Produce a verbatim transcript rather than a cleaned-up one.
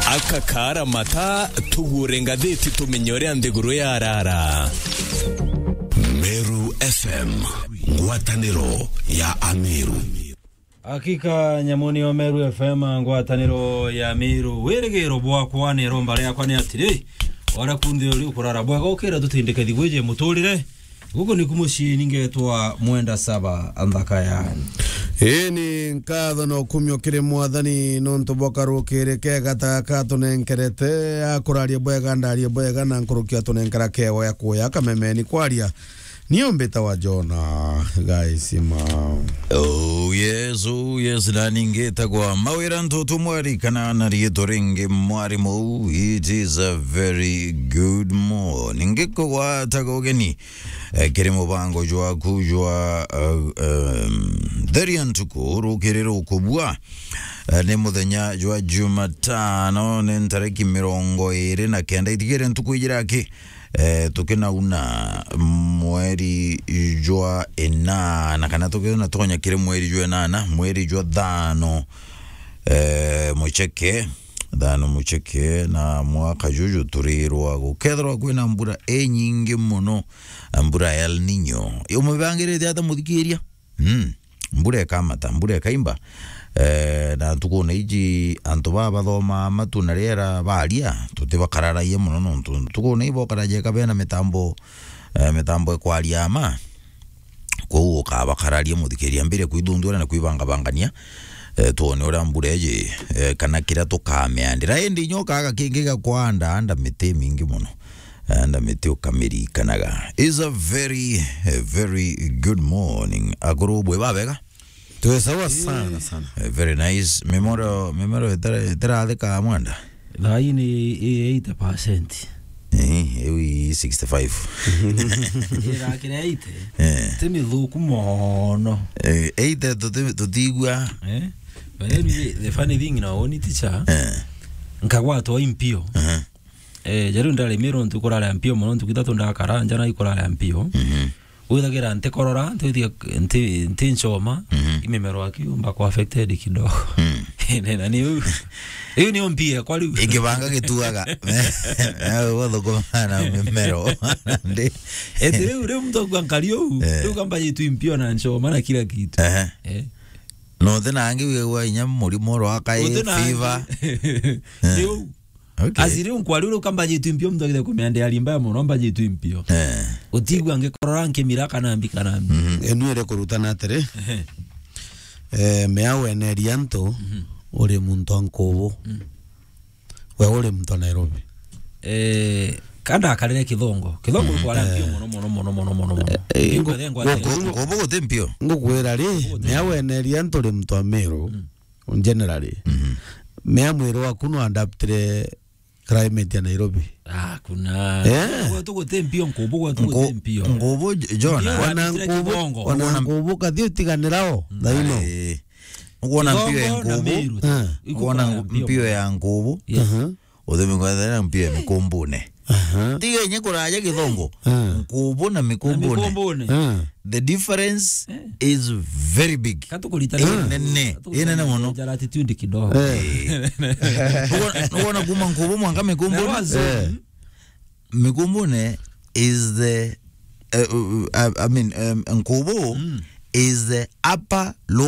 Aka kaara mata, tugure ngathiti tumenye uria nthiguru yarara. Meru F M, ngwataniro ya Ameru. Hakika, nyamu niyo Meru F M, ngwataniro ya Meru. Wirigiro bwakwa ni iromba riakwa ni atiri, ora kunthe uri ukurara bwega, ukira tutindike thigwije muturire. Guku niku mucii, ningetwa Mwenda Saba, nthaka yani. Ii ni nkatho na ukumio kiri Mwathani nontu bwa karukiri kega ta gaka atunenkerete, akuraria bwega, ndarie bwega, na nkuruki atunenkera kego ya kuya kamemeni kwaria. Nio mbitawa Jona Gaisima. Oh yes, oh yes, na ningitagwa Mawira Ntutu Mwari, kana na riitwa ringi Mwarimu. It is a very good morning. Ngikugwataga ugeni, eh, kiri mubango jwaku jwa, eh, em, Theria Ntuku, rukiri rukubua. Eh, ni muthenya jwa Jumatano, ni ntariki mirongo iri na kenda, itigire ntuku ijiraki, eh, tukinauna mweri jwa inana, kana tukinauna tonya kiri mweri jwa inana, mweri jwa thano, eh, mucheke, thano mucheke, na mwaka juju turirwa gukethirwa kwina mbura inyingi muno, mbura ya El Nino. Umibangirite ata, muthikiria? Mm. Mbura ikamata, mbura ikaimba. Eh, na ntukune iji antu baa bathomaa matu na riera baria, tutibakararagia muno nontu ntukune ii bokaragia ika bena mitambo, eh, mitambo ikwaria ma. Kwou ukabakararia, muthikiria, mbire kwithunthura na kwibangabangania, eh, twone uria mbura iji, eh, kana kiria tukamiandira. Indi inya ukaaga kingi gia kwanda, anda miti imingi muno. Anda miti ukamirikanaga. Is a very, a very good morning. Akuru bwe babega? Twi sawa sana, sana. Eh, very nice. Mimero, mimero itara-, itarathika Mwenda? Thaa ii ni i eighty percent. Eh, iu i sixty-five. Irakira eighty. Eh. Ti mithuku mono. Eh, eighty tuti-, tutiigua. Eh? But then the funny thing na woni, teacher, eh, nkagwatwa impio. Aha. Eh, jariu ndari Miru ntuku rari mpio mono, ntuku ithatu ndakara nja na ikurara mpio. Mhm. Withagira ntikorora, ntithia, nti, nti nchoma, mhm, imemero akiumba ku affected kidogo. Mm. Na ni u, iu ni mpia kwa riu. Ikibanga gituaga. Nawe wathukuma na mimero. Ndi. Eti riu, riu muntu akua nkari uu, eh, riu kamba jitu impio na nchoma na kila kitu. Aha. Eh. No, uti na angi wigagua inya murimo oro akae, uti na angi, fever. Eh. Ni uu. Okay. Asi riu nkwari uri ukamba jitu impio, muntu agithe kumiandea rimba ya mono, mba jitu impio. Eh. Utigua ngikorora nkimira kana mbi kana mbi. Mhm. Enu iri kurutana atiri, ehe, eh, mea weneria antu, mhm, uri muntu a Nkubu. Mm. We uri muntu a Nairobi. Eh, kanda akarire Kithongo. Kithongo, mhm, kwara mpio, eh, mono, mono, mono, mono, mono, mono. Eh, eh, mpio ngu-, thengwa ngu-, thengwa. Nkubu guti mpio. Ngukwira ri, nkubu guti mpio. Mea weneria antu uri muntu a Miru. Mm. Generally. Mhm. Mea mwiri waku no adaptire climate ya Nairobi? Ah, kuna. Eh. Gwetu guti mpio, Nkubu gwetu guti mpio. Nkubu, J-, John, mpio ona adaptire Nkubu, Kithongo. Ona Nkubu kathi utiganirao, mm, thaino. Ai. Ukwona mpio ya Kithongo na Nkubu? Miru. Eh. Ukwona mpio ya Nkubu? Yes. Aha. Uthimi kwa thana mpio ya Mikumbune. Aha. Tiga inye kuraja Kithongo. Ah. Nkubu na Mikumbune. Na Mikumbune. Ah. The difference, eh, is very big. Katukuritana. Inene. Katukuritana. Inene muno. Jara attitude kidogo. Eh. Eh. Nukwona, nukwona kuma Nkubu mwanka Mikumbune? Na wazo. Eh. Mikumbune is the, uh, uh, I, I mean, um, Nkubu, mm, is the upper lower